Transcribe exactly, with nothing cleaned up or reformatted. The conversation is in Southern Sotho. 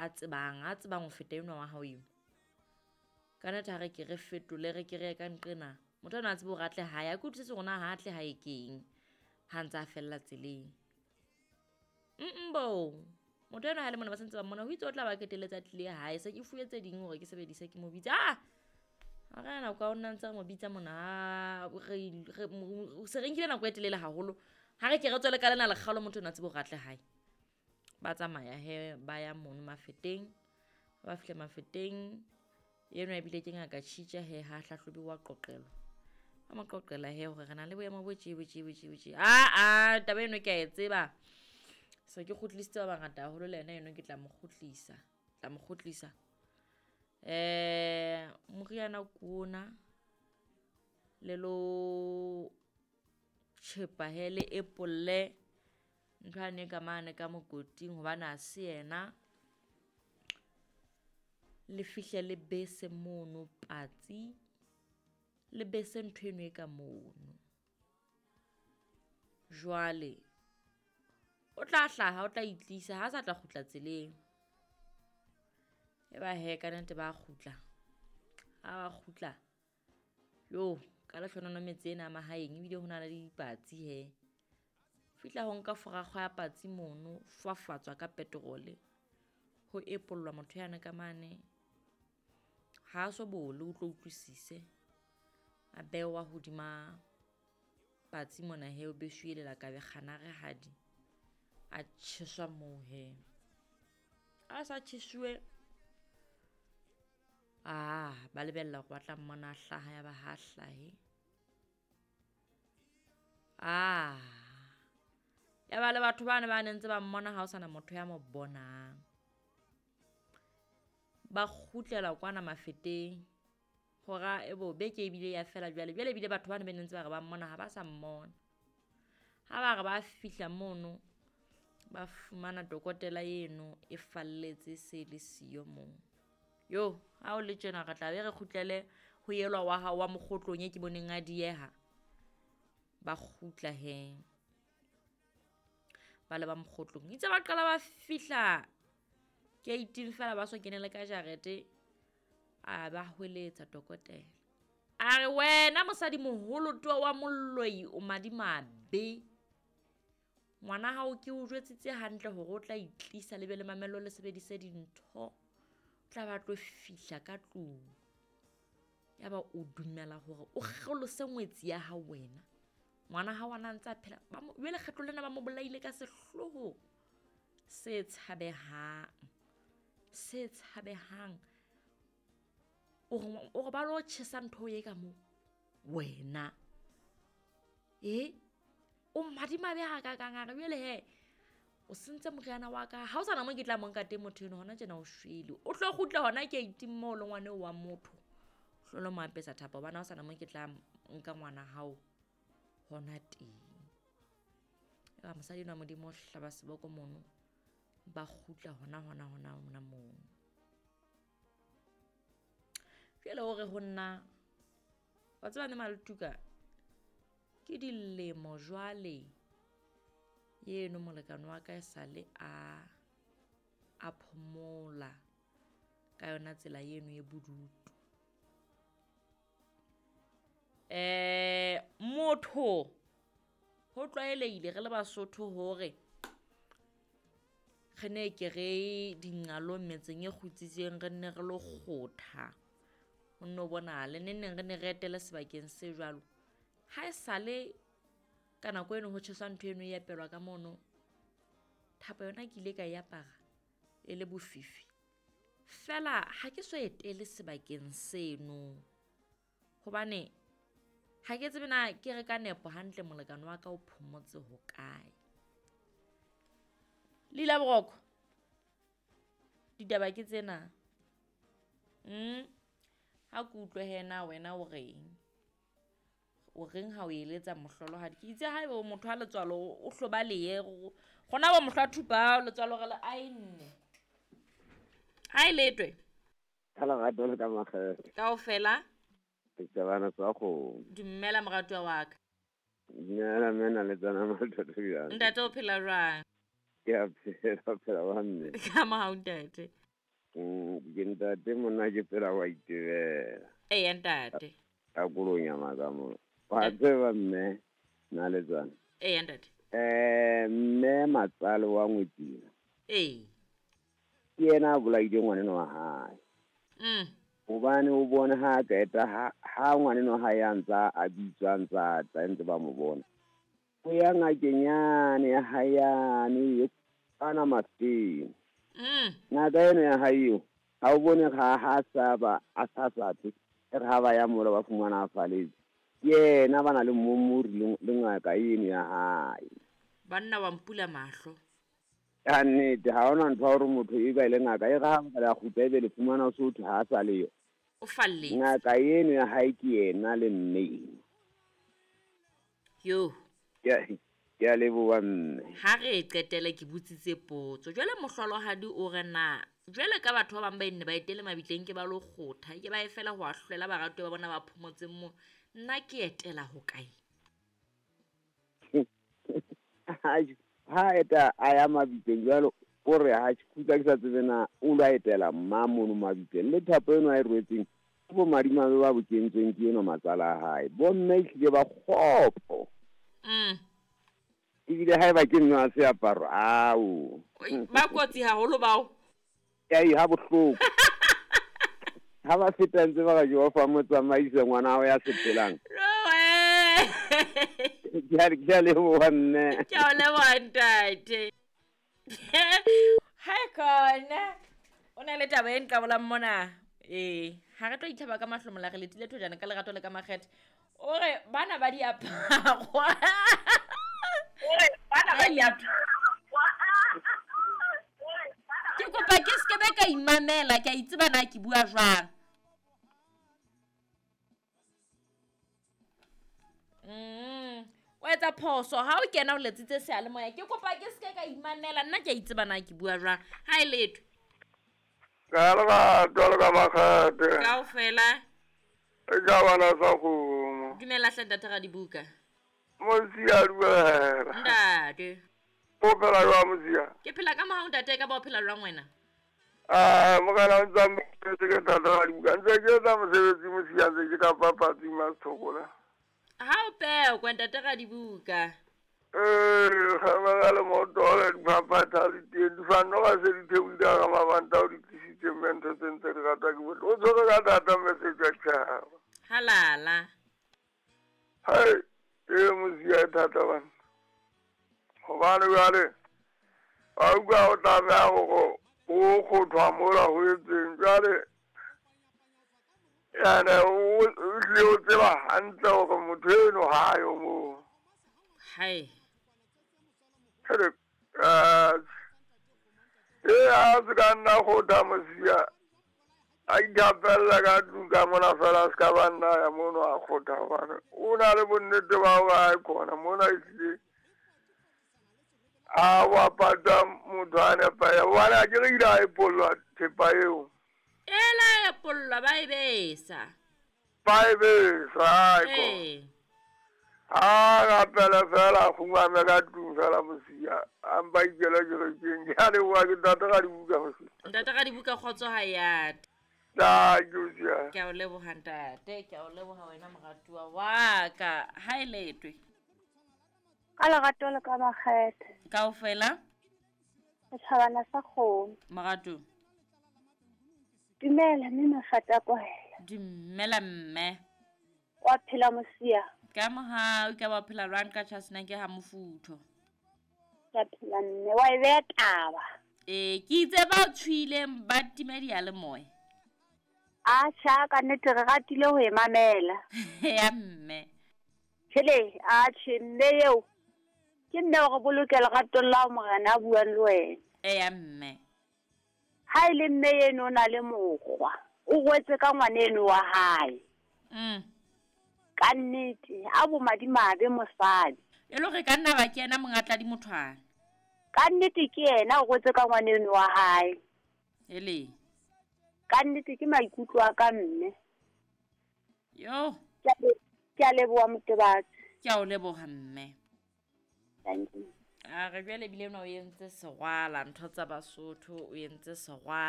a tsebang, a tsebang ho feta enwa wa hao eo. Ka nnete ha re ke re fetole re ke re ye ka nqena. Motho enwa a tsebe hore a tle hae, a ke utlwisise hore na ha a tle hae keng ha ntse a fella tseleng. Mm bo, motho enwa ha le mona ba santse ba mmona, ho itse o tla ba qetelletse a tlile hae. Se ke fuwe tse ding hore ke sebedise ke mo bitse. Ah! Ha re na nako ya ho nna ntse re mo bitsa mona, re re se re nkile nako e telele haholo. Ha re ke re tswele ka lena lekgalo motho enwa a tsebe hore a tle hae. Ba tsamaya he ba ya mono Mafeteng. Ha ba fihla Mafeteng, enwa ebile ke ngaka tjhitja he ha hlahlobiwa qoqelwa. Ba mo qoqela he hore re na le boemo bo tje bo tje bo tje bo tje. Aa taba eno ke a e tseba. Se ke kgutlisitse ba bangata haholo le yena eno ke tla mo kgutlisa, tla mo kgutlisa. Eh moriana ke ona le lo tjhepa he le epolle ntho yane ka mane ka mokoting hobane ha se yena. Le fihle le bese mono patsi, le bese ntho eno e ka mono. Jwale o tla hlaha, o tla itlisa ha sa tla kgutla tseleng. E ba he ka nnete ba kgutla, ha ba kgutla yo ka lehlohonolo metse ena ya mahaeng ebile ho na le dipatsi he. Fihla ho nka forakgwa ya patsi mono, fafatswa ka petrol-e, ho epollwa motho yane ka mane. Ha so bole o tlo utlwisise. A behwa hodima patsi mona he, o beshuwe lelakabe kganarehadi, a tjheswa moo he. A sa tjhesuwe, ah ba lebella hore ba tla mmona a hlaha, ya ba ha hlahe. Ah ya ba le batho bane ba ne ntse ba mmona ha ho sana motho ya mo bonang. Ba kgutlela kwana Mafeteng hora e bo beke ebile ya fela jwale. Jwale ebile batho bane ba ne ntse ba re ba mmona ha ba sa mmona. Ha ba re ba fihla mono, ba fumana dokotela eno e falletse se le siyo moo. Yo, ha o le tjena re tla be re kgutlele ho elwa wa hao wa mokgotlong e ke boneng a dieha. Ba kgutla he. Ba le ba mokgotlong. Itse ba qala ba fihla gate-ing fela ba so kenele ka jarete, a ba hweletsa dokotela. A re wena mosadi moholo towa wa moloi o madimabe. Ngwana hao ke o jwetsitse hantle hore o tla itlisa le be le mamello le sebedise dintho. O tla ba tlo fihla ka tlung. Yaba o dumela hore o kgelose ngwetsi ya hao wena. Ngwana hao a na ntse a phela. Ba mo, jwale kgetlo lena ba mo bolaile ka sehloho se tshabehang, se tshabehang. O re, o re ba lo tjhesa ntho e ka moo wena. E o madimabe ha kakang. A re jwale he o sentse moriana wa ka, ha o sana mo ke tla mo nka teng motho eno hona tjena o shwele. O tlo kgutla hona gate-ing moo le ngwana eo wa motho. O tlo lo mo apesa thapo hobane ha o sana mo ke tla nka ngwana hao hona teng. Eba mosadi enwa Modimo o hlaba seboko mono, ba kgutla hona hona hona hona moo. Jwale o re ho nna, wa tseba ne Maletuka, ke dilemo jwale eno molekane wa ka esale a a phomola ka yona tsela eno e bodutu. Eh motho ho tlwaelehile re le Basotho hore re ne ke re dinqalong metseng e kgutsitseng re nne re lo kgotha. Ho nno bonahala neng neng re ne re etele sebakeng se jwalo. Ha esale ka nako eno ho tjheswa ntho eno e epelwa ka mono, thapo yona ke ile ka e apara e le bofifi. Feela ha ke so etele sebakeng seno hobane ha ke tsebe na ke re ka nepo hantle molekane wa ka o phomotse hokae. Lila boroko, ditaba ke tsena. Mm ha ke utlwe he na wena o reng? O reng ha o eletsa mohlolohadi? Ke itse haeba o motho wa letswalo o hloba lehe, rona bo mohlwa thupa letswalo re le aenne. Ha e letwe. Ka lerato le ka makgethe. Kaofela. Ke tsebana tsa kgomo. Dumela moratuwa wa ka. Dumela mena le tsona mathatha bjang. Ntate o phela jwang? Ke a phela, phela wa mme. Ka mohau ntate. Mm, ke ntate monna ke phela wa itebela. Eya ntate. Ka kolonyama ka mo. Wa tseba mme Naletsana. Eya ntate. Eh mme matsale wa ngwetsila. Ee. Ke yena a bolaile ngwaneno wa hae. Mm. Hobane o bone ha qeta ha ha ngwaneno ha ya ntsa a bitswa ntsa tla ntse ba mo bona. O ya ngakeng yane ya hae yane e ana mafeng. Mm. Ngaka eno ya hae eo, ha o bone ha ha sa ba a sa sa tle, e re ha ba ya mola ba fumana a faletse. Ke yena ba na le momori le le ngaka eno ya hae. Banna wa mpula mahlo. Ka nnete ha hona ntho ya hore motho e ba ile ngaka e re ha nka la kgutla ebe le fumana o so thwe ha a sa leyo. O falletse. Ngaka eno ya hae ke yena le mme eno. Yo. Ke a, ke a leboha mme. Ha re e qetele ke botsitse potso. Jwale mohlolohadi o re na jwale ka batho ba bang ba nne ba etele mabitleng ke ba lo kgotha, ke ba e fela ho ahlolela baratuwa ba bona ba phomotseng mo. Nna ke etela ho kae? Ha eta a ya mabitleng jwalo o re ha ke kgutla ke sa tsebe na o lo etela mma mono mabitleng. Le thapo eno a e rwetseng ke bo madimabe ba bo kentsweng ke eno matsala a hae. Bo mme ehlile ba kgopo. Mm. Ebile haeba ke nna seaparo, ao. Oi, ba kotsi haholo bao. Ai, ha bohloko. Ha ba feta ntse ba re Jehova motsamaise ngwana hao ya sepelang. Roe. Ke a, ke a leboha mme. Ke a o leboha ntate. Ha khona. O na le taba e nqabolang mona. Ee, ha re tlo itlhaba ka mahlomola re letile thojana ka lerato le ka makgethe. O re bana ba diaparo. Bana ba diaparo. Ke kopa ke se ke be ka imamela, ke a itseba na ke bua jwang. Mm. O etsa phoso ha o kena o letsitse seyalemoya. Ke kopa ke se ke ka imamela, nna ke a itseba na ke bua jwang. Ha e letho. Ka lerato le ka makgethe. Kaofela. E ka bana sa kgomo. Dumela hle ntate Radibuka. Mosia dumela. Ntate. O phela jwang Mosia? Ke phela ka mohau ntate, ka ba o phela jwang wena? Ah, mogala o ntsa mpetse ke ntate Radibuka. Ntse ke etsa mosebetsi Mosia, ntse ke ka papatsi Masthokola. Ha o pekwe ntate Radibuka. Eh, ga ba le motole dipapatsa di teng, di fanno ga se di theohile ka mabanta o di tlisitse mme ntho tse ntse di ratwa ke bohle. O tshwere ka thata message ya tjhaba. Halala. Hai, e Mosia e thata bana. Hobane jwale, wa utlwa o tlameha hore o kgothwa mola ho etseng. Jwale, yane o hlile o tseba hantle hore motho eno ha yo moo. Hai. Hele, eh, e a se ka nna kgotha Mosia. A ithapella ka tlung ka mona fela, a se ka ba nna ya mono a kgotha hobane o na le bonnete ba hore ha e khona mona ehlile a wa pata motho a nepaya. Hobane ha ke re ile a epollwa thepa eo. Ela epollwa ba e besa. Ba e besa, ha e khona. Ee. A rapele fela, a kgumame ka tlung fela Mosia. A mpa ikele kerekeng. Ke a leboha ke ntate Radibuka Mosia. Ntate Radibuka kgotso ha ya. Thank you, Mosia. Ke a o leboha ntate, ke a o leboha wena moratuwa wa ka. Ha e letwe. Ka lerato le ka makgethe. Kaofela. Setjhabana sa kgomo. Moratu. Dumela mme Mafata Kwahela. Dumela mme. Wa phela Mosia? Ka mohau ka ba phela jwang ka tjhasena ke ha mofutho. Ke phela mme wa e beha taba. Eh, ke itse ba tshwileng ba time diyalemoya. A tjha ka nnete re ratile ho e mamela. Ya mme. Tjhele, a tjhe mme eo. Ke nne hore boloke leratong la morena a buang le wena. Eh ya mme. Ha e le mme eno o na le mokgwa. O rwetse ka ngwaneno wa hae. Mm. Ka nnete, a bo madimabe mosadi. E le hore ka nna ba ke yena monga tladi mothwana. Ka nnete ke yena o rwetse ka ngwaneno wa hae. Ele. Ka nnete ke maikutlo a ka mme. Yo. Ke a leboha Motebatsi. Ke a o leboha mme. Thank you. A re jwale ebile nna o entse serwala, ntho tsa Basotho o entse serwala.